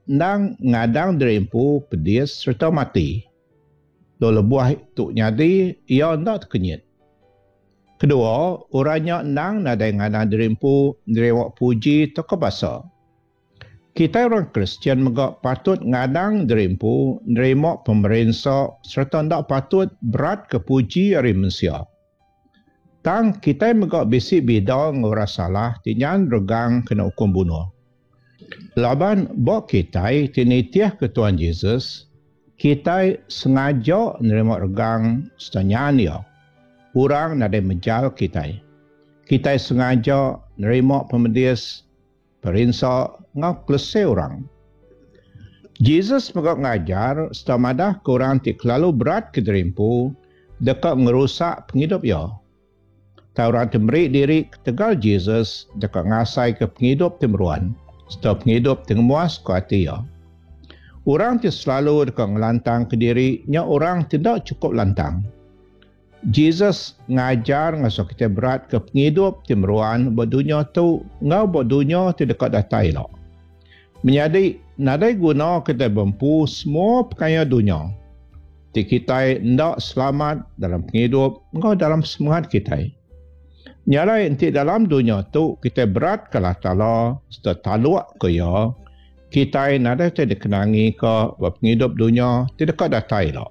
endang ngadang diri empu pedis sereta mati. Lalu lebuh tu nyadi, iya enda tekenyit. Kedua, orang nya endang nadai ngadang diri empu nerima puji tauka basa. Kitai orang Kristian mega patut ngadang diri empu nerima pemerinsa sereta enda patut beratka puji ari mensia. Tang, kitai mega bisi bida enggau orang salah ti nyan regang kena ukum bunuh. Laban ba kitai ti nitihka Tuan Jesus, kitai sengaja nerima regang sereta nyan iya. Orang nadai mejal kitai. Kitai sengaja nerima pemedis Perinsa enggau kelese orang. Jesus mega ngajar sereta madahka orang ti kelalu berat ke diri empu deka ngerusak pengidup iya. Tang orang ti meri diri ketegal Jesus deka ngasaika pengidup ti meruan sereta pengidup ti ngemuaska ati iya. Orang ti selalu deka ngelantangka diri nya orang ti enda chukup lantang. Jesus ngajar ngasuh kitai beratka pengidup ti meruan ba dunya tu enggau ba dunya ti deka datai ila. Menyadi, nadai guna kitai bempu semua pekaya dunya ti kitai enda selamat dalam pengidup enggau dalam semengat kitai. Nya alai enti dalam dunya tu kitai beratka Allah Taala sereta talukka Iya, kitai nadai utai dikenangika ba pengidup dunya ti deka datai ila.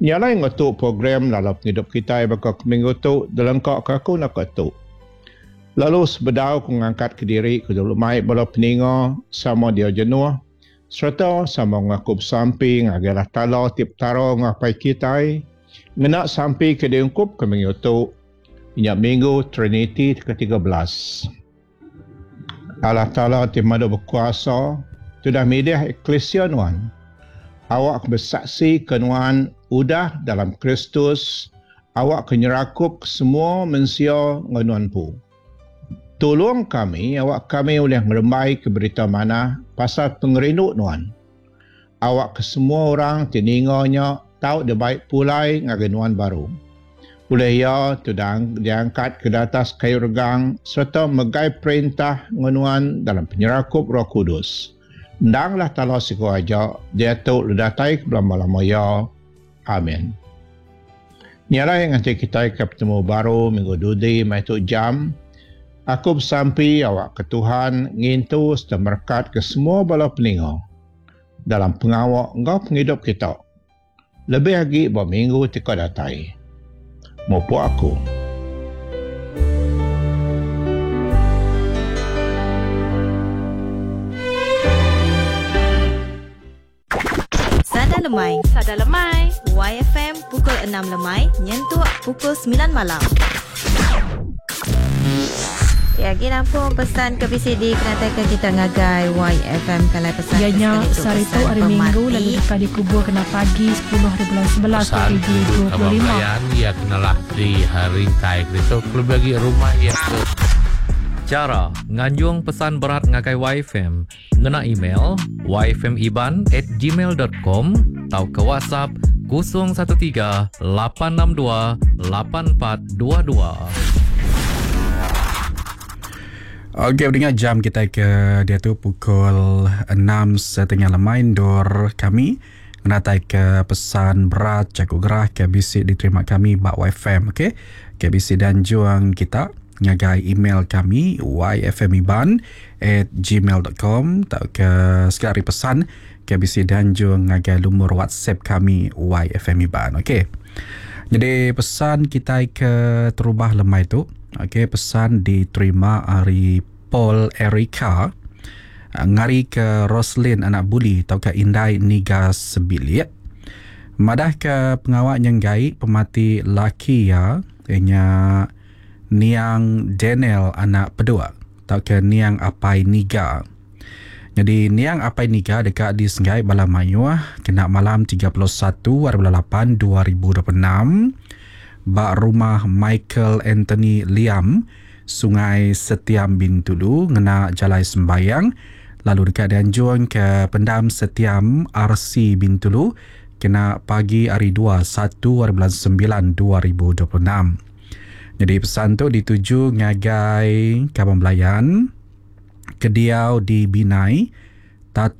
Nya alai ngetu program lalau pengidup kitai baka ke minggu tu dilengkaka aku naka tu. Lalu sebedau ku ngangkatka diri ku dulu mai bala peninga sama dia jenuh sereta sama ngaku besampi ngagai Allah Taala ti Petara enggau Apai kitai ngena sampi ke diungkupka minggu tu nya Minggu Triniti ti ke-13. Allah Taala ti Madu Bekuasa ti udah milih eklisia nuan, awakka besaksika nuan udah dalam Kristus, awakka nyerakupka semua mensia enggau nuan empu. Tulung kami awakka kami ulih ngerembaika Berita Manah pasal pengerindu nuan. Awakka semua orang ti ninga nya tau dibai pulai ngagai nuan baru. Ulih iya ti udah diangkatka di atas kayu regang sereta megai perintah enggau nuan dalam penyerakup Roh Kudus. Endanglah Taala siku aja, diatu lalu datai ke belama-lama iya. Amin. Nya alai nganti kitai ke betemu baru minggu dudi meh tu jam, aku besampi awakka Tuhan ngintu sereta merekatka semua bala peninga dalam pengawa enggau pengidup kita lebih agi ba minggu ti ka datai. Mupuk aku. Sada Lemai. Sada Lemai. YFM pukul 6 lemai nyentuk pukul 9 malam. Ya, agi nampung pesan ke bisi dikenataika kita ngagai YFM kalai pesan Iya nya sehari tu hari Minggu lalu deka dikubur kena pagi sepuluh hari bulan sebelas dua Pesan ribu duduk dua puluh kaban lima. belayan iya kenalah di rintai ke ditu kelebih agi rumah iya ke. Chara nganjung pesan berat ngagai YFM Ngena email yfmiban at gmail dot com tauka WhatsApp 013 862 8422. Okey pendengar jam kitai ke diatu pukul 6.30 lemai endur kami ngenatai ke pesan berat jaku gerah ke bisi diterima kami ba YFM okey. Ke bisi dianjung kita ngagai email kami yfmiban at gmail dot com tauka sekali ari pesan ke bisi dianjung ngagai lumur whatsapp kami yfmiban. Okey. Jadi pesan kitai ke terubah lemai tu okey pesan diterima ari Paul Erica ngari ke Roslin anak Buli tauka indai Niga sebilik madah ke pengawa nyenggai pemati laki iya nya Niang Daniel anak Peduk tauka Niang Apai Niga. Nyadi Niang Apai Niga deka disenggai bala mayuh kena malam 31 hari bulan lapan 2026 ba rumah Michael Anthony Liam, Sungai Setiam Bintulu ngena jalai sembayang lalu deka dianjung ke Pendam Setiam RC Bintulu kena pagi hari dua satu hari bulan sembilan 2026. Nyadi pesan tu dituju ngagai kaban belayan ke diau di Binai, Tata.